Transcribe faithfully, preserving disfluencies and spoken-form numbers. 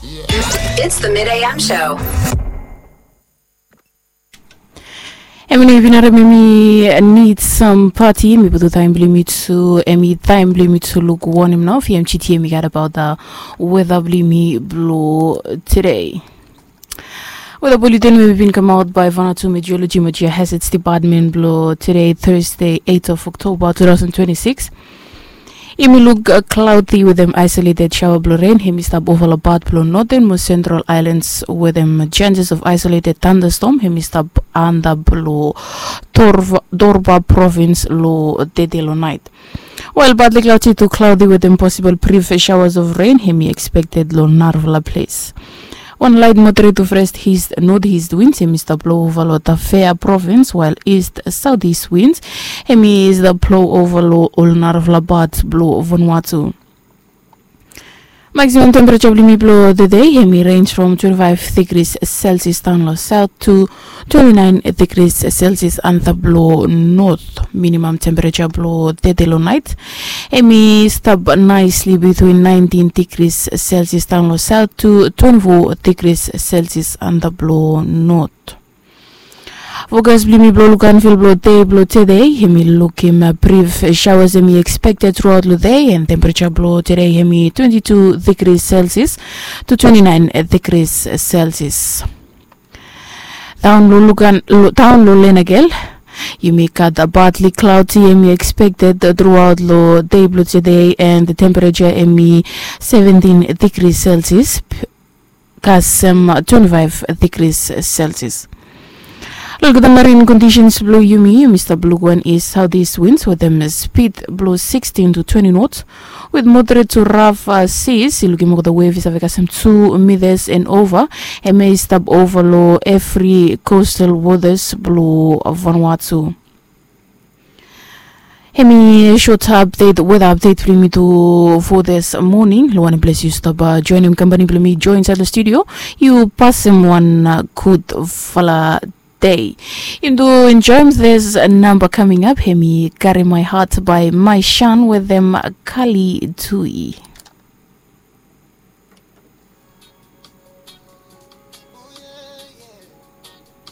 It's the Mid A M show. Em i no even harem em i nid sam pati, mi putu taem blong yumi tu, em i taem blong yumi tu luk wanem nao fi em titi em i gat abaot weda blong yumi blong tede. Weda buleten we i bin kamaot bae Vanuatu Meteorology mo Geohazards Department blong tede Thursday eight of October two thousand twenty-six. Yumi luk klaudi wetem aisoleted saoa blong ren hem i stap ova long pat blong noten mo sentral aelans wetem chances of aisoleted tandastom hem i stap anda blong Dorba provins long tede long naet. Wael badli klaudi tu klaudi wetem posibol brif saoas of ren hem i ekspekted long narafala ples. Wan laet moderet tu frest hist nod hist wins hem i stap blou ova long Tafea provins wael ist saot ist wins hem i stap blou ova long ol narafala pat blou Vanuatu. Maksimam tempereja blong yumi blong tede hem i renj from twenti faef degris selsias daon long saot tu twenti naen degris selsias antap blong not. Minimam tempereja blong tede long naet hem i stap naesli bitwin naentin degris selsias daon long saot tu twenti fo degris selsias antap blong not. Fokas blong yumi blong lukanfil blong dei blong tede hem i lukim brif saoas hem i ekspekted truaot long dei and tempereja blong tede hem i twenti tu degris selsias tu twenti naen degris selsias. Daon long lukan daon long lenagel yumi gat badli klaudi hem i ekspekted truaot long dei blong tede and tempereja hem i seventin degris selsias kasem twenti faef degris selsias. Luk olgeta marin kondisens blong yumi yumi stap luk wan ist saot ist wins wetem spid blong sikstin tu twenti nots wit moderet tu raf. Sis i lukim olgeta wef i save kasem tu mitas and ova. Hem i stap ova long evri kostal wotas blong Vanuatu. Hem i sot apdet weda apdet blong yumi tu fo this moning long wanem ples yu stap joenem kampani blong mi joe insaed long studio. Yu pasem wan gudfala dei. Yumi tu enjoem this namba kaming ap hem i karim mai hat bae mai shan wetem kali tui.